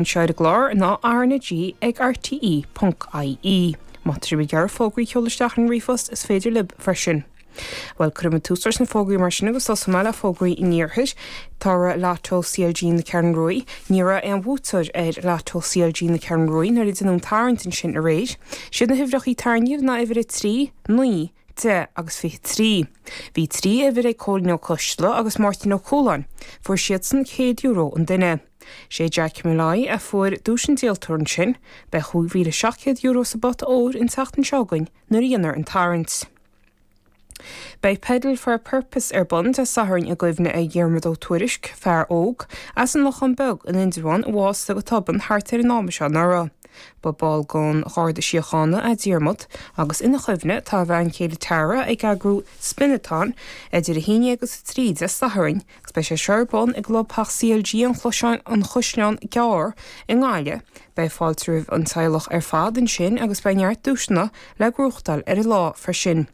Anseo ar an gclár ná RnaG ag rte ponc ie. Má tá sibh ag iarraidh fógraí a sheoladh isteach ar an ríomhphost, is féidir libh freisin. Bhuel, cuirfidh muid tús leis na fógraí mar sin agus tosóidh mé le fógraí an iarthair. Tá Lotto CLG na Ceathrún Ruaidh. Ní raibh aon bhuaiteoir ar Lotto CLG na Ceathrún Ruaidh nuair a deineadh an tarraingt ansin aréir. Siad na huimhreachaí tarraingíodh ná uimhir 3, 9, 10 agus 23. Bhí 3 uimhir ag Cóilín Ó Coisteala agus Máirtín Ó Cualáin. Fuair siadsan €100 an duine. Sé Jack Molloy a fuair duais an díoltóra ansin. Beidh €5,700 sa bpota óir an tseachtain seo chugainn nuair a dhéanfar an tarraingt. Beidh Pedal for a Purpose ar bun Dé Sathairn i gcuimhne ar Dhiarmaid Ó Tuairisg, fear óg as an Lochán Beag in Indreabhán a bhásaigh go tobann thart ar an am seo anuraidh. Ba ball den Gharda Síochána é Diarmaid agus ina chuimhne tá a bhean chéile Tara ag eagrú Spin-a-thon idir 11 agus 3 Dé Sathairn agus beidh sé seo ar bun i gclubtheach CLG an Chaisleáin Ghearr i nGaillimh. Beidh fáilte roimh an teaghlach ar fad ansin agus beidh neart duaiseanna le gnóthachtáil ar an lá freisin.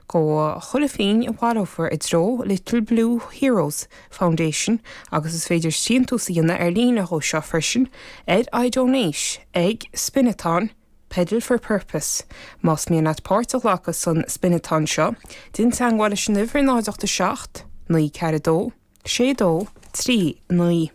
Gabhfaidh chuile phingin a bhaileofar i dtreo Little Blue Heroes Foundation agus is féidir síntiús a dhéanamh ar líne dhó seo freisin ar iDonate ag Spin-a-thon Pedal for Purpose. Más mian leat páirt a ghlacadh san Spin-a-thon seo, déan teagmháil leis an uimhir 0 8 7 9 4 2 6 2 3 9.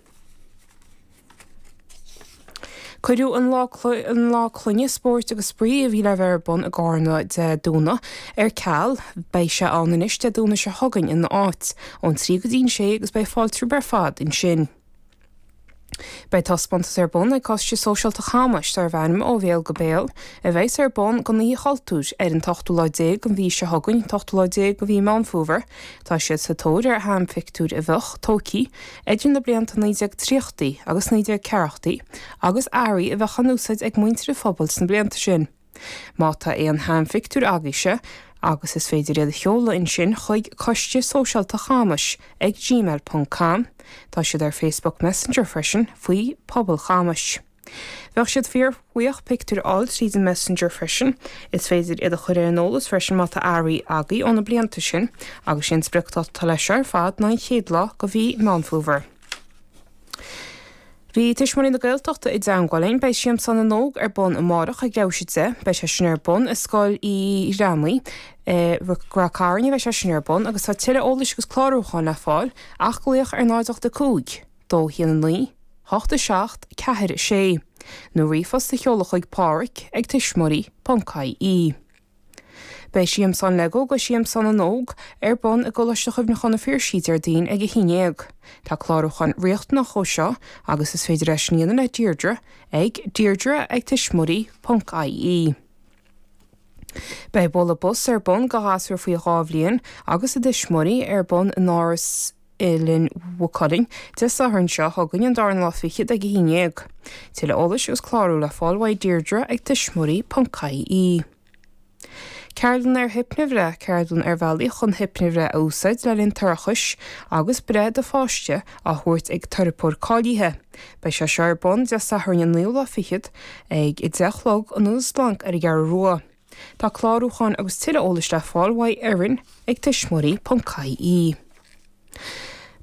Cuireadh an Lá an Lá Clainne Spóirt agus Spraoi a bhí le bheith ar bun i gCarna Dé Domhnaigh ar ceal. Beidh sé ann anois Dé Domhnaigh seo chugainn ina áit, ón 3 go dtí an 6 agus beidh fáilte romhaibh ar fad ansin. Beidh taispeántas ar bun ag Coiste Sóisialta Chamais darb ainm Ó Bhéal go Béal, a bheas ar bun don Oíche Chultúir ar an t-ochtú lá déag den mhí seo chugainn, an t-ochtú lá déag de mhí Meán Fómhair. Tá siad sa tóir ar sheanphictiúir a bheadh tógtha idir na blianta 1930 agus 1940 agus earraí a bheadh á n-úsáid ag muintir an phobail sna blianta sin. Má tá aon sheanphictiúir agaibhse agus is féidir iad a sheoladh ansin chuig Coiste Sóisialta Chamais ag gmail ponc com. Tá siad ar Facebook Messenger freisin faoi Pobal Chamais. Bheadh siad fíorbhuíoch pictiúir a fháil tríd an Messenger freisin. Is féidir iad a chur ar an eolas freisin má tá earraí agaibh ó na blianta sin agus sé an spriocdháta atá leis seo ar fad ná an chéad lá de mhí Meán Fómhair. Bhí Tuismitheoirí na Gaeltachta i dteangmháil linn. Beidh Siamsán na nÓg ar bun amárach ag leathuair théis 10. Beidh sé sin ar bun i Scoil Uí Ghramhnaigh i Ráth Cairn a bheidh sé sin ar bun agus tá tuilleadh eolais agus clárúcháin le fáil ach glaoch ar 0 8 5 2 1 9 8 7 4 6 nó ríomhphost a sheoladh chuig pádraic ag tuismitheoirí.ie. Beidh Siamsán Lego agus Siamsán na nÓg ar bun i gColáiste Chuimhneacháin an Phiarsaigh Déardaoin ag 11. Tá clárúchán riachtanach dhó seo agus is féidir é sin a dhéanamh le Deirdre ag deirdre ag tuismitheoirí.ie. Beidh bualadh bos ar bun do ghasúir faoi 2 bhliain agus a dtuismitheoirí ar bun in Áras Oileán Mhaigh Cuilinn Dé Sathairn seo chugainn an darna lá fichead ag 11. Tuilleadh eolais agus clárú le fáil uaidh Deirdre ag tuismitheoirí.ie. Ceardlann ar hipnibhreith, ceardlann ar bhealaí chun hipnibhreith a úsáid le linn toirchis agus breith do pháiste á thabhairt ag teiripeoir cáilithe. Beidh sé seo ar bun Dé Sathairn an naoú lá fichead ag 10 a chlog in Ionad Splanc ar an gCeathrú Rua. Tá clárúcháin agus tuilleadh eolais le fáil uaidh Erin ag tuismitheoirí.ie.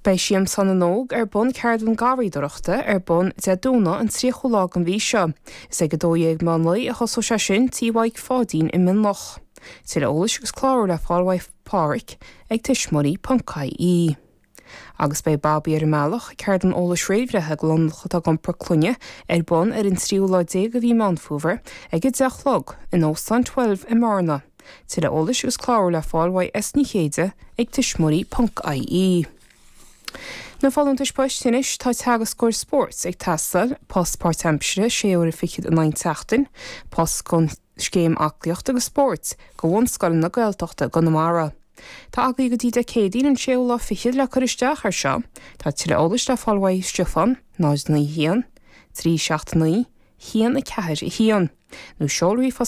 Beidh Siamsán na nÓg ar bun ceardlann garraíodóireachta ar bun Dé Domhnaigh an 30ú lá den mhí seo. Is ag 12 meán lae a thosóidh sé sin Tí Mhaidhc Pháidín i Mionloch. Tuilleadh eolais agus clárú le fáil uaidh Pádhraic ag tuismitheoirí.ie. Agus beidh Babaí ar an mBealach, ceardlann eolais réamhbhreithe do londach atá ag iompar clainne, ar bun ar an tríú lá déag de mhí Meán Fómhair ag 10 a chlog in Óstán Twelve i mBearna. Tuilleadh eolais agus clárú le fáil uaidh S Ní Chéide ag tuismitheoirí.ie. Na folúntais poist anois, tá teagascóir spóirt ag teastáil, post páirtaimseartha, sé uaire fichead in aghaidh an tseachtain, post don Scéim Aclaíochta agus Spóirt do bhunscoileanna Gaeltachta i gConamara. Tá agaibh go dtí Dé Céadaoin an séú lá fichead le cur isteach air seo. Tá tuilleadh eolais le fáil uaidh Stiofán, 0 9 1, 3 7 9, 1 4 1, nó seol ríomhphost.